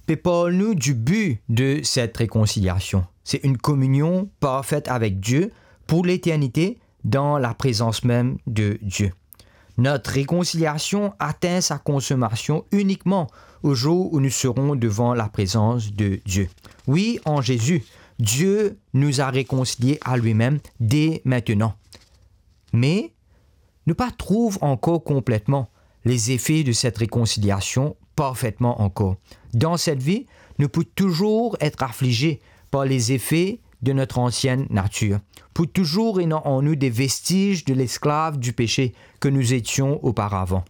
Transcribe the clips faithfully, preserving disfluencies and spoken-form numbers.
pe parl nou du bi de set rekonsiliasion. Se enn kominion parfet avek Die pou leternite dan laprezans mem de Die. Notre réconciliation atteint sa consommation uniquement au jour où nous serons devant la présence de Dieu. Wi, an Zezi, Die nou a rekonsilie a limem de mintenan. Me nou pa trouv ankor konpletman lezefe de set rekonsiliasion parfetman ankor. Dan set vi, nou pou touzour et aflize par lezefe de notre ancienne nature. Pou touzour ena an nou de vestiz de lesklav di pese ke nou etion oparavan.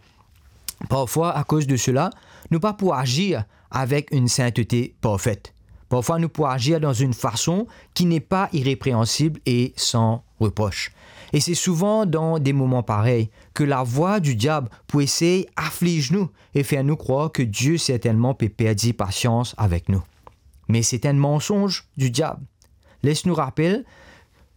Parfwa, akoz de sela, nou pa pou azir avek enn sintete parfet. Parfwa, nou pou azir dan enn fason ki n'est pas irrépréhensible et sans reproche. E se souvan dan de moman parey ke lavwa di diab pou esey afliz nou e fer nou krwar ke Die sertennman pe perdi pasians avek nou. Me se enn mansonz di diab. Les nou rapel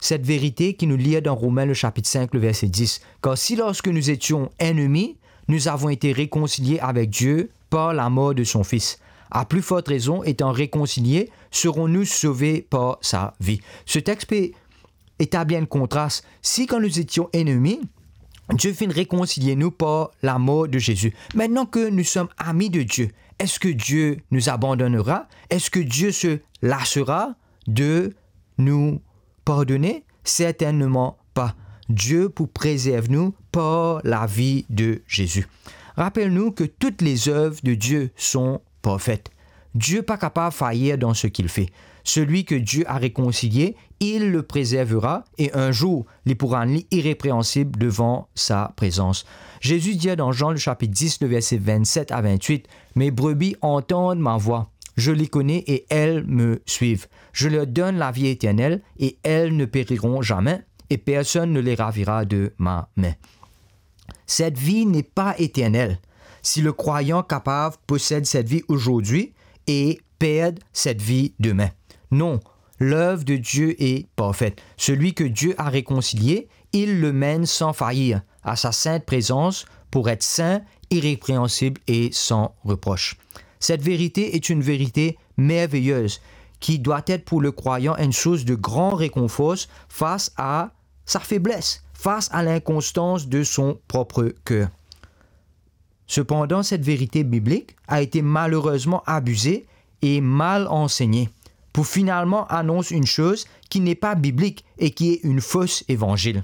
set verite ki nou lir dan Romin le sapit sink, le verse dis. Kar si lorsque nous étions ennemis, nous avons été réconciliés avec Dieu par la mort de son Fils, à plus forte raison, étant réconciliés, serons-nous sauvés par sa vie. Se tex pe etabli enn kontras. Si kan nou etion enemi, Die finn rekonsilie nou par lamor de Zezi. Maintenant que nous sommes amis de Dieu, est-ce que Dieu nous abandonnera? Est-ce que Dieu se lassera de nous pardonner? Certainement pas. Die pou prezerv nou par lavi de Zezi. Rapel nou ke toutes les œuvres de Dieu sont parfaites. Die pa kapav fayir dan seki li fer. Celui que Dieu a réconcilié, il le préservera, et un jour, li pou rann li irrépréhensible devant sa présence. Zezi dir dan Zan, le sapit dis, le verse vennset a vennwit, "Mes brebis entendent ma voix. Je les connais et elles me suivent. Je leur donne la vie éternelle et elles ne périront jamais, et personne ne les ravira de ma main." Cette vie n'est pas éternelle. Si le croyant capable possède cette vie aujourd'hui et perd cette vie demain. Non, l'œuvre de Dieu est parfaite. Celui que Dieu a réconcilié, il le mène sans faillir à sa sainte présence pour être saint, irrépréhensible et sans reproche. Cette vérité est une vérité merveilleuse qui doit être pour le croyant une source de grand réconfort face à sa faiblesse, face à l'inconstance de son propre cœur. Cependant, cette vérité biblique a été malheureusement abusée et mal enseignée, pour finalement annoncer une chose qui n'est pas biblique et qui est une fausse évangile.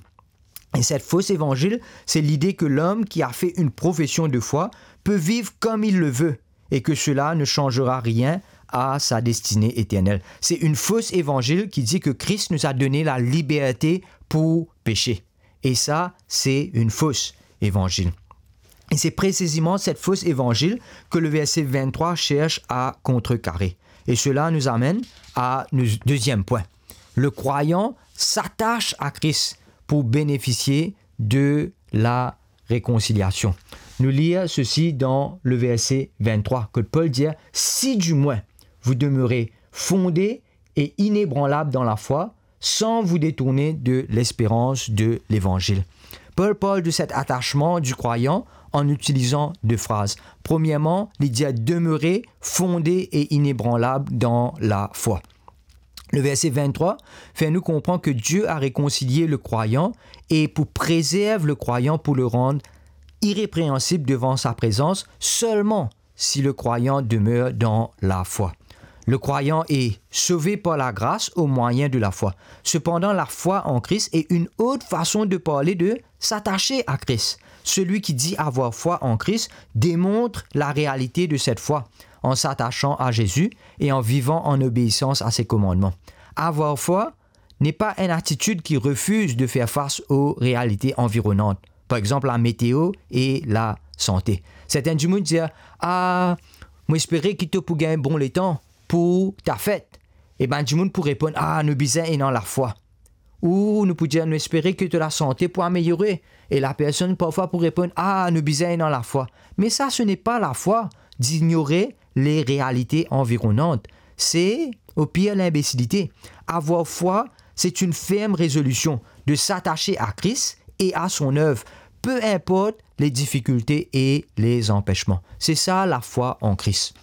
Et cette fausse évangile, c'est l'idée que l'homme qui a fait une profession de foi peut vivre comme il le veut et que cela ne changera rien à sa destinée éternelle. C'est une fausse évangile qui dit que Christ nous a donné la liberté pour pécher. Et ça, c'est une fausse évangile. Et c'est précisément cette fausse évangile que le verset vingt-trois cherche à contrecarrer. Et cela nous amène à notre deuxième point. Le croyant s'attache à Christ pour bénéficier de la réconciliation. Nou lir sesi dan le verse venntrwa, kot Pol dir, "Si du moins vous demeurez fondés et inébranlables dans la foi, sans vous détourner de l'espérance de l'évangile." Pol parl de cet attachement du croyant en utilisant deux phrases. Premièrement, li dir, "Demeurez fondés et inébranlables dans la foi." Le verset vingt-trois fait nous comprendre que Dieu a réconcilié le croyant et pour préserver le croyant, pour le rendre irrépréhensible devant sa présence, seulement si le croyant demeure dans la foi. Le croyant est sauvé par la grâce au moyen de la foi. Cependant, la foi en Christ est une autre façon de parler de s'attacher à Christ. Celui qui dit avoir foi en Christ démontre la réalité de cette foi en s'attachant à Jésus et en vivant en obéissance à ses commandements. Avoir foi n'est pas une attitude qui refuse de faire face aux réalités environnantes, par exemple la météo et la santé. Sertin dimoun dir, "Ah, mo espere ki to pou gagn bon letan pou ta fet." E bann dimoun pou reponn, "Ah, nou bizin ena lafwa." Ou nou pou dir, "Nou espere ki to lasante pou ameliore." E lapersonn parfwa pou reponn, "Ah, nou bizin ena lafwa." Mais ça, ce n'est pas la foi d'ignore les réalités environnantes. C'est, au pire, l'imbécilité. Avoir foi, c'est une ferme résolution de s'attacher à Christ et à son œuvre, peu importe les difficultés et les empêchements. C'est ça, la foi en Christ.